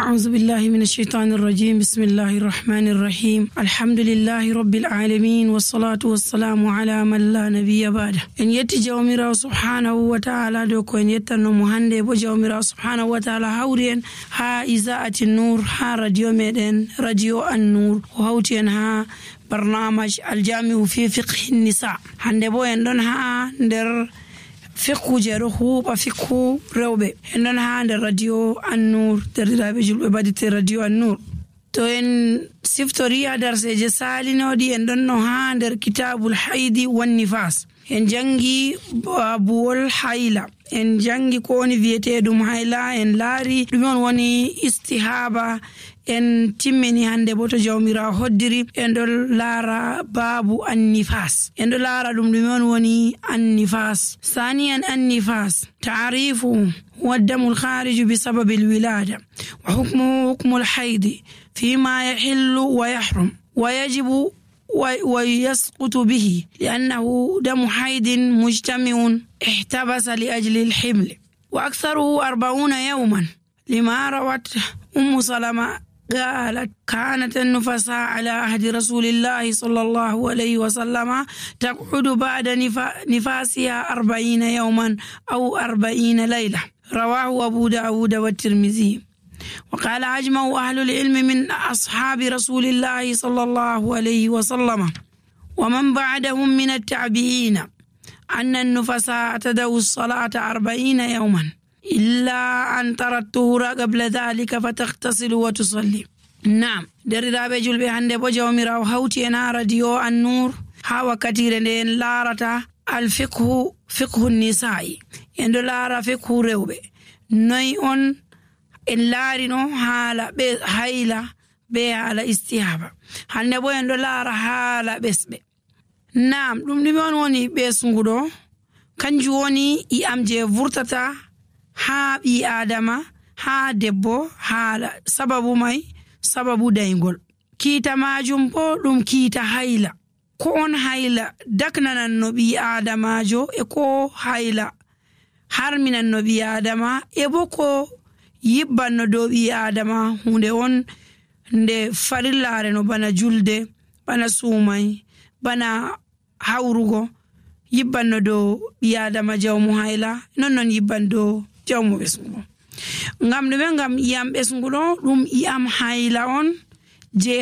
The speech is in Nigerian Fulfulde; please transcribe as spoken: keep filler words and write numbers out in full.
أعوذ بالله من الشيطان الرجيم بسم الله الرحمن الرحيم الحمد لله رب العالمين والصلاة والسلام على من لا نبي بعده إن يتي جوميرا سبحانه وتعالى دوكو إن يتنو مهندي بو جوميرا سبحانه وتعالى هورين ها إذاعة النور ها راديو ميدن راديو النور وهوتين ها برنامج الجامع في فقه النساء هندي بو يندون ها ندر فقه جروه بفقه روبه إننا عند الراديو النور ترى بيجول بديت الراديو النور توين سفتوريا درس جسالي نودي إننا عند كتاب الحيض والنفاس إن جنگي بول حيلة إن جنگي كوني فيته دوم حيلة إن لاري دومون وني استهابة en timmini hande boto jawmira hoddiri en do laara babu annifas en do laara dum dum on woni annifas ثانيا النفاس تعريفه هو الدم الخارج بسبب الولادة وحكمه حكم الحيض فيما يحل ويحرم ويجب ويسقط به لأنه دم حيض مجتمع احتبس لأجل الحمل وأكثره أربعون يوما لما روت أم سلمة قالت كانت النفساء على عهد رسول الله صلى الله عليه وسلم تقعد بعد نفاسها أربعين يوما أو أربعين ليلة رواه أبو داود والترمذي وقال أجمع أهل العلم من أصحاب رسول الله صلى الله عليه وسلم ومن بعدهم من التابعين أن النفساء تدعو الصلاة أربعين يوما إلا أن ترى الطهور قبل ذلك فتغتسل وتصلي. نعم دري بجول بهند بجوميرا وهوتي أنا راديو النور هوا كثير لين لارتا الفقه فقه النساء يندو لارا فقه روبه نيون إن لارينو حالا بي حيلا بي حالا استيابا هند بو يندو لارا حالا بسبه. نعم دم دمون وني بسنغدو كنجوني إي أمجي فورتتا haa ɓi adama haa debbo haala sababu mai sababu daygol kiita majum bo ɗum kiita hayla ko on hayla daknanan no ɓi adamajo e ko hayla harminan no ɓi adama e bo ko yibban no dow ɓi adama hunde on nde farillare no bana julde bana suumay bana hawrugo yibban no dow ɓi adama jawmu hayla non non yibban dow jawmu ɓesnguɗo ngam ɗume ngam iyam ɓesnguɗo ɗum iyam hayla on je